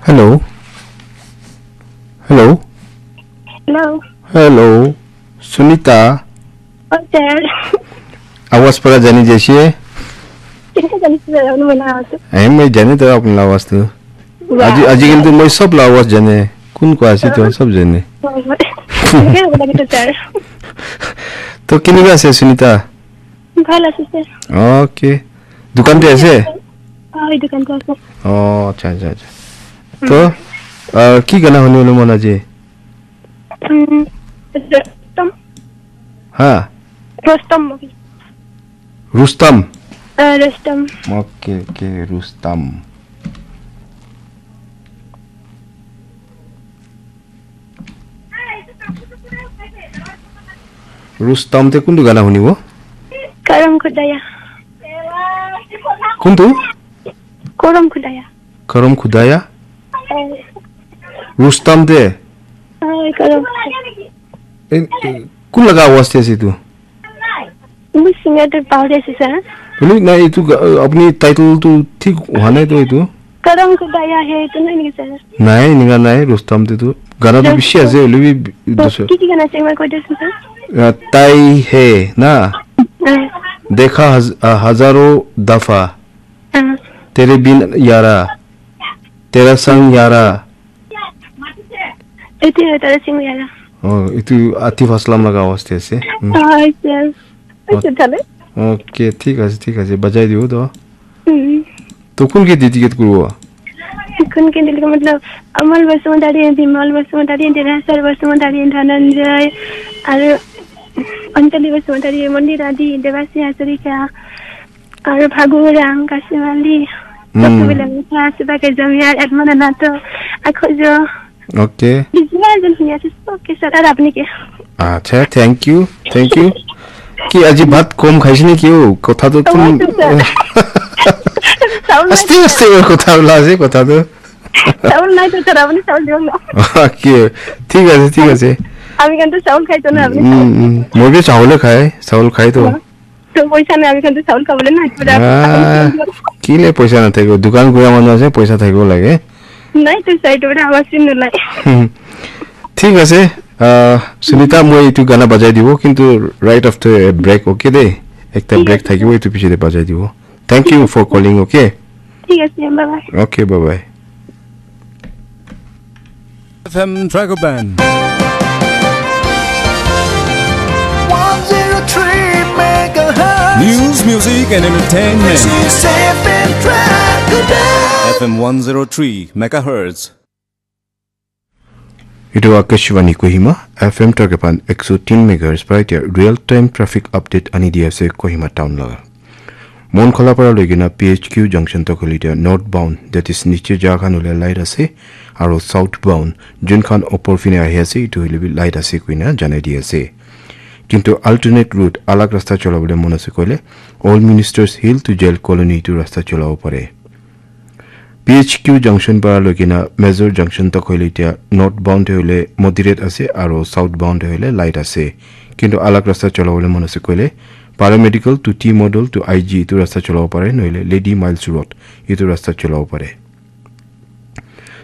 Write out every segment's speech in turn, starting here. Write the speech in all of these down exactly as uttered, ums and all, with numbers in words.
Hello. Hello. Hello. Hello. Sunita. Oh, sir. Awaz pura jani jaise. Kinka jani sir, anu mana ase. Ahi, main jane to apni la awaz to. Wow. Aji, aji kintu main sab la awaz jane. Kun ko ase to sab jane. Oh, kinka hobo lage to, sir. To kinka ase Sunita? Bhal ase, sir. Okay. Dukan te ase? Oh, dukan te ase. Oh, acha, acha, acha. To, ah, ki gana huni huni mon aji? Mm, Rustom. Ha? Rustom movie. Rustom. Ah, Rustom. Okay, okay, Rustom. Rustom te kuntu gana hunibo? Karam Khudaya. Kuntu? Karam Khudaya. Karam Khudaya? Eh. Rustom te? Ai, Karam Khudaya. Eh, eh, kun laga awaz te ase tu? Moi singer tu pahori ase, sir. Hoile na etu ga-, apni title tu thik howa nai to etu. Karam Khudaya hai, etu nai niki, sir? Nai, enika nai, Rustom te tu. Gana tu bishi ase, hoile bi bi-, dusra. Ki ki gana ase, moi koi disu, sir. Ah, Tai Hai na? Ah. Dekha haz-, ah, Hazaron Dafa. Ah. Tere Bina Yaar. Tera Sang Yaar. Etu Tera Sang Yaar. Oh, etu Atif Aslam laga awaz te ase. Hmm. Ah, yes. Oh. Acha, thale. Okay, thik ase, thik ase. Bajai dibo to. Hmm. To kun ke dedicate kuribo? Kun ke dedicate matlab, Amal Basumatary, Bimal Basumatary, Derasar Basumatary, Dhananjay, aru Anjali Basumatary, Mondir Adi, Devasi Hazarika, aru Phagu Rang, Kashim Ali, Hmm. Sabto Bilang, Siba Ke Jamiar, Edmond Anato, Akhojo. Okay. Business and here is okay, sir. Aru apni ke? Acha, thank you, thank you. Ki aji bhat kom khaise ne ki o? Kotha to tum. Aste, aste kotha ula ase, kotha to. Chaul nai to, sir, apni chaul diyo na. Okay, thik ase, thik ase. Ami khan to chaul khai to na, apni chaul. Mm, mm. Moi bi chaul khai, chaul khai to. To poisa nai, ami khan to chaul khabole na, pura. Ah, kile poisa nathakibo? Dukan kura manu ase, poisa thakibo lage. Nai to, sir, etu pura awaz nolai. Thik ase, ah, Sunita, moi etu gana bajai dibo, kintu right after a break, okay de? Ekta break thakibo, etu piche de bajai dibo. Thank you for calling, okay? Thik ase, bye bye. Okay, bye bye. F M Dragon Band. One zero three megahertz. News, music, and entertainment. This is F M Dragon Band. F M one zero three megahertz. Etu Akashvani Kohima, F M Dragon Band ekso tin megahertz para etia real time traffic update ani di ase Kohima town laga. Monkhola para loi kena P H Q junction tak hoile etia north bound, that is niche ja khan hoile light ase, aro south bound, jun khan opor phine ahi ase, etu hoile bi light ase koina janai di ase. Kintu alternate route, alag rasta cholabole mon ase koile, Old Ministers Hill to Jail Colony etu rasta cholabo pare. P H Q junction para loi kena Major junction tak hoile etia north bound te hoile moderate ase aro south bound te hoile light ase. Kintu alag rasta cholabole mon ase koile paramedical to T model to I G etu rasta cholabo pare, nohole Lady Miles Road etu rasta cholabo pare.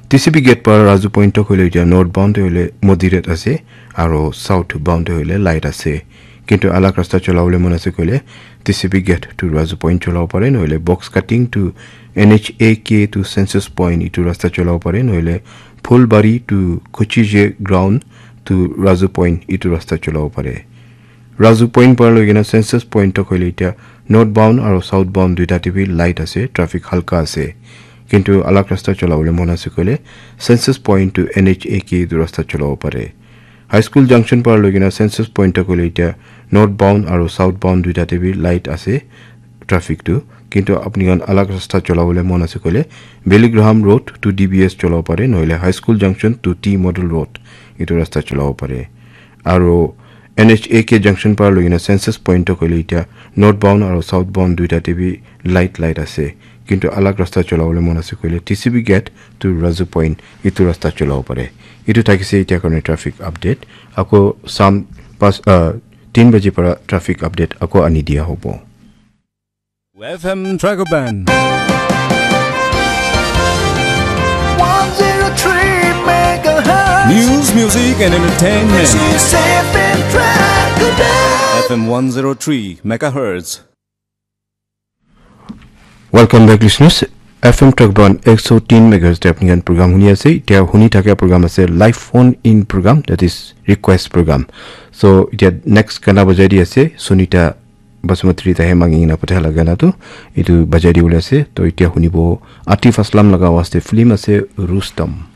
T C B gate para Raju Point tak hoile etia north bound te hoile moderate ase aro south bound te hoile light ase. Kintu alag rasta cholabole mon ase koile T C B gate to Raju Point cholabo pare, nohole box cutting to N H A K to Census Point etu rasta cholabo pare, nohole Phulbari to Kochije ground to Raju Point etu rasta cholabo pare. Raju Point para loi kena Census Point tak hoile etia north bound aro south bound duita te bi light ase, traffic halka ase. Kintu alag rasta cholabole mon ase koile Census Point to N H A K etu rasta cholabo pare. High School junction para loi kena Census Point tak hoile etia north bound aro south bound duita te bi light ase traffic tu. Kintu apni khan alag rasta cholabole mon ase koile Billy Graham Road to D B S cholabo pare, nohole High School junction to T Model Road etu rasta cholabo pare. Aro N H A K junction para loi kena Census Point tak hoile etia north bound aro south bound duita te bi light light ase. Kintu alag rasta cholabole mon ase koile T C B gate to Raju Point etu rasta cholabo pare. Etu thakise etia karone traffic update. Ako sam pas, ah, tin baji para traffic update ako ani dia hobo. F M Dragon Band. One zero Music and entertainment. F M one zero three megahertz. Welcome back, listeners. F M Trek Band ek sho tin megahertz te apni khan program huni ase. Etia huni thaka program ase live phone in program, that is request program. So etia next gana bajai di ase Sunita Basumatary tahe mangi na patha laga gana tu etu bajai di bole ase. To etia hunibo Atif Aslam laga awaaz te film ase Rustam.